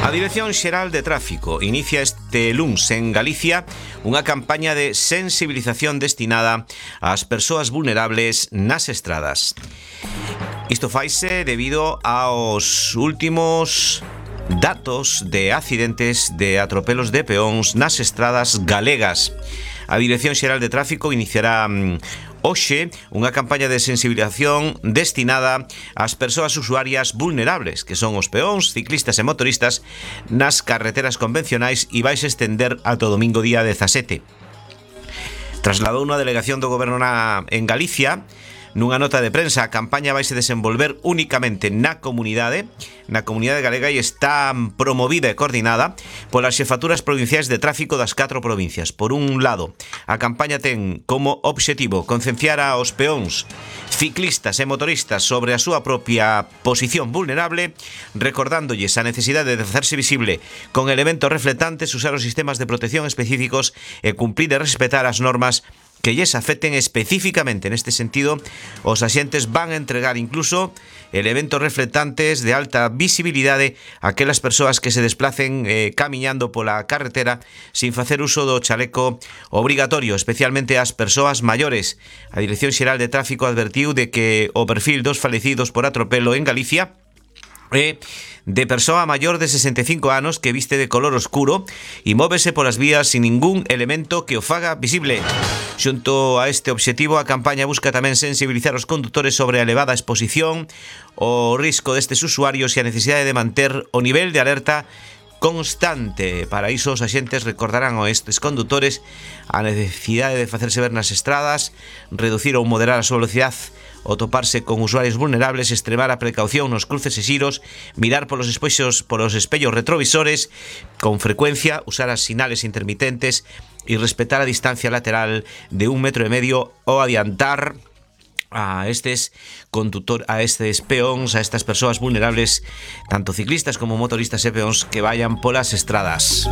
A Dirección Xeral de Tráfico inicia este luns en Galicia unha campaña de sensibilización destinada ás persoas vulnerables nas estradas. Isto faise debido aos últimos datos de accidentes de atropelos de peóns nas estradas galegas. A Dirección Xeral de Tráfico iniciará hoxe unha campaña de sensibilización destinada ás persoas usuarias vulnerables, que son os peóns, ciclistas e motoristas nas carreteras convencionais, e vais estender ata o domingo día 17. Trasladou unha delegación do Goberno en Galicia. Nunha nota de prensa, a campaña vaise desenvolver únicamente na comunidade galega e está promovida e coordinada polas xefaturas provinciais de tráfico das 4 provincias. Por un lado, a campaña ten como obxectivo concienciar aos peóns, ciclistas e motoristas sobre a súa propia posición vulnerable, recordándolles a necesidade de facerse visible con elementos reflectantes, usar os sistemas de protección específicos e cumprir e respetar as normas que lles afecten específicamente. Neste sentido, os axentes van a entregar incluso elementos reflectantes de alta visibilidade a aquelas persoas que se desplacen camiñando pola carretera sin facer uso do chaleco obrigatorio, especialmente as persoas maiores. A Dirección Xeral de Tráfico advertiu de que o perfil dos falecidos por atropelo en Galicia é de persoa maior de 65 anos que viste de color oscuro e móvese polas vías sin ningún elemento que o faga visible. Xunto a este obxectivo, a campaña busca tamén sensibilizar os condutores sobre a elevada exposición, o risco destes usuarios e a necesidade de manter o nivel de alerta constante. Para iso, os axentes recordarán a estes condutores a necesidade de facerse ver nas estradas, reducir ou moderar a súa velocidade, o toparse con usuarios vulnerables, extremar a precaución nos cruces e xiros, mirar polos espellos retrovisores con frecuencia, usar as sinales intermitentes e respetar a distancia lateral de 1,5 metros ou adiantar a estes peóns, a estas persoas vulnerables, tanto ciclistas como motoristas e peóns que vayan polas estradas.